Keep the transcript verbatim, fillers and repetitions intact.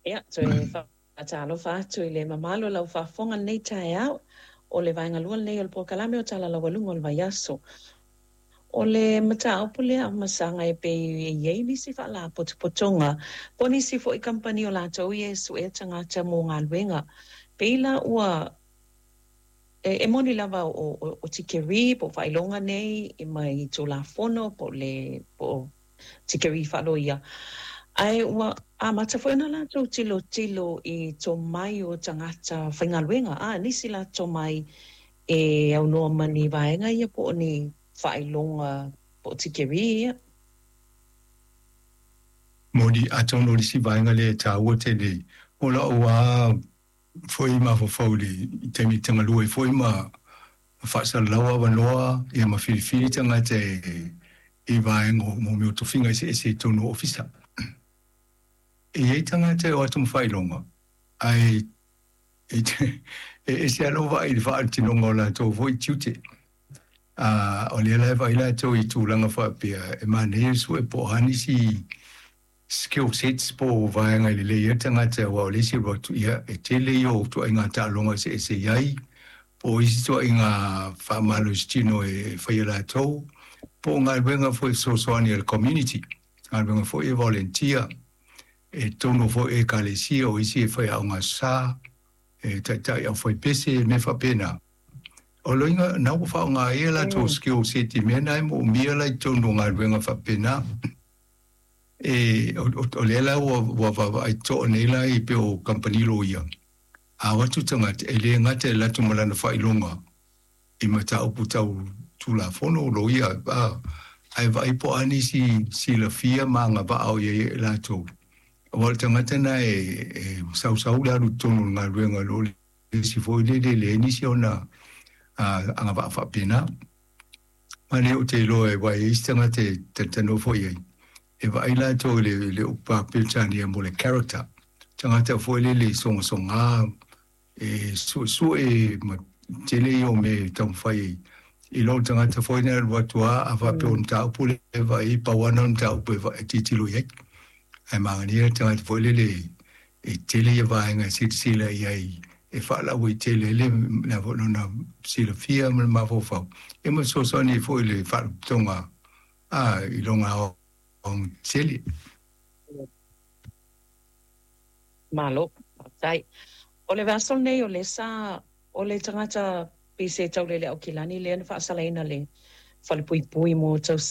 Ia, toe faatalofa atu i le mamalu o lau faafofoga i lenei taeao. O le vaega lua lenei o le polokalame o Tala Laualuga o le Vaiaso. O le mataupu lea Afamasaga e pei e i ai nisi faalapotopotoga po o nisi foi kamupani o latou ia e suea tagata mo galuega. Pei la ua e, e moni lava o, o, o tikeri po o faailoga nei mai Tulafono po o le po o tikeri faaloia. Ae ua amata foi ona latou tilotilo i tomai o tagata faigaluega. A nisi la tomai e aunoa ma ni vaega ia po o ni faailoga po o tikeri ia. Moni, atonu o le isi vaega lea e taua tele o lau lava foi mafaufau i le taimi e tagalua ai foi ma faasalalau avanoa ia ma filifili tagata i vaega o mea o tofiga eseese i totonu o ofisa. E i ai tagata e o atu ma faailoga, ae e ese lava lou vaai i le faautinoga o latou foi tiute. O lea la e vaai latou i tulaga faapea e manaia le sue po o a nisi skill sets po o vaega e lelei ai le tagata aua o le isi alu atu, ia, e tele ia o ituaiga taaloga eseese i ai, po o isi ituaiga faamalositino e faia latou, po o galuega foi e fesoasoani a le community, galuega foi e volunteer, e totonu foi o ekalesia, o isi e faiaoga aso sa, e taitai aufaipese, mea faapena. O loiga na ua faaaoga ai a latou skill set i mea na e moomia la i totonu o galuega faapena. E, o, o lea la ua, ua vaavaai totoa nei la i pei o kamupani loia, a o atu tagata, e le gata e alu atu ma lana faailoga i mataupu tau Tulafono o loia, a, ae vaai po o a nisi silafia ma agavaa o i ai e latou. Aua o le tagata lena e, e sausau le alu i totonu o le galuega i lo le isi foi lele e leai nisi ona agavaa faapena. Ma lea ou te iloa aua e i ai isi tagata e talatalanoa foi i ai, e vaai latou i le, le upu Peretania mo le character, tagata foi lele e sogasoga, e suesue ma tele ia o mea e taumafai ai i lo le tagata foi lea e alu atu lava a faapea o le mataupu lea e vaai ai, pau lava lena o le mataupu e tilotilo i ai. Ae manaia le tagata foi lele e tele ia vaega e silasila i ai e faalauaitele ai le lona silafia ma le mafaufau ia ma fesoasoani ai foi i le faalapotopotoga i lona aoaotetele. Malo, faafetai. O le vaiaso lenei o lea sa, o le tagata pei se taulele Aukilani lea na faasalaina le falepuipui mo tausaga.